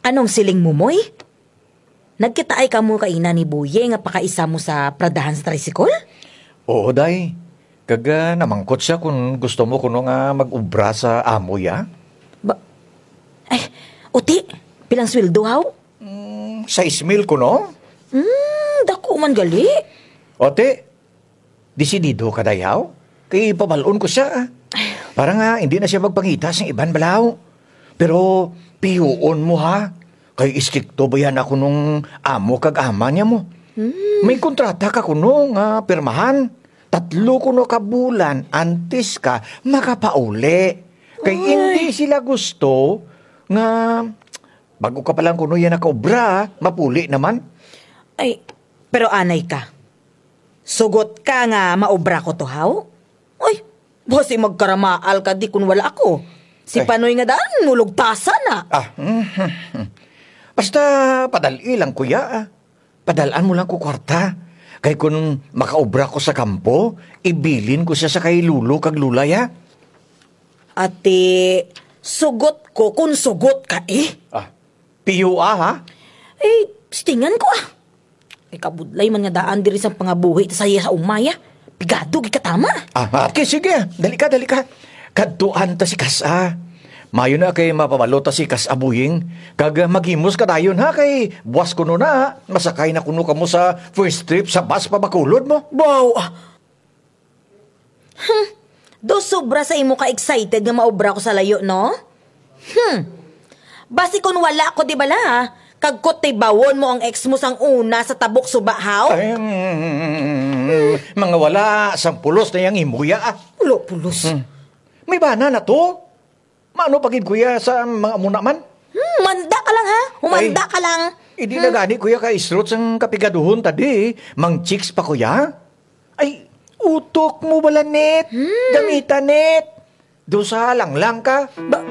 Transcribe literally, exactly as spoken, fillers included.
Anong siling mo, Moy? Nagkitaay kamo kaina ni Boying nga pakaisa mo sa paradahan sa tricycle? Oo, day. Kag, ah, namangkot siya kon gusto mo kuno nga mag-obra sa amo ya. Ba, ay, uti, pilang sweldo, haw? Mm, sais mil kuno? Hmm, dako man gali. Uti, desidido ka, day, haw? Kay pabal-on ko siya, ah. Para nga indi na siya magpangita sa iban bala, haw. Pero piyuon mo, ha? Kay istrikto baya na kunong amo kag ama nimo. Hmm. May kontrata ka kuno nga pirmahan. Tatlo kuno ka bulan antes ka makapauli. Kay indi sila gusto nga bag-o ka pa lang kuno ya nakaobra, mapuli na man. Ay, pero anay ka. Sugot ka nga maobra ko to, haw? Uy, basi magkaramaal ka di kon wala ako. Si Panoy nga daan, nulugtasan na. Ah, mhm. Basta padal-i lang ko ya, ah. Padal-an mo lang ko kwarta. Kay kon makaobra ko sa kampo, ibilin ko siya sa kay lolo kag lola ya. Ati, sugot ko kon sugot ka, eh. Ah, piyo, ah, ha? Eh, stingan ko, ah. Ay, kabudlay man nga daan diri sa pangabuhi ta sa iya sa uma ya. Pigado gid ka tama. Ah, okay, sige. Dali ka, dali ka. Kadtuan ta si Kas-a. Maayo na kay mapabalo ta si Kas-a, Boying. Kag, ah, maghimos ka dayon, ha, kay buwas kuno na, ah. Masakay na kuno kamo sa first trip sa bus pa Bacolod mo. Wow, ah. Hmm. Do sobra sa imo ka excited nga maobra ko sa layo, no? Hmm. Basi kon wala ko di bala, ha? Kag kutibawon mo ang ex mo sang una sa tabok suba, haw? Ay, mm, mga wala sang pulos na yang imo ya, ah. Wala pulos. Hmm. May bana na to. Maano pa gid ko ya sa mga amo na man? Hmm, manda ka lang, ha? Humanda ka lang. Indi na gani ko ya ka-stress ang kapigaduhon ta di. Mang-chicks pa ko ya. Ay, utok mo bala, Net. Hmm. Gamita, Net. Dusa lang lang ka. Ba,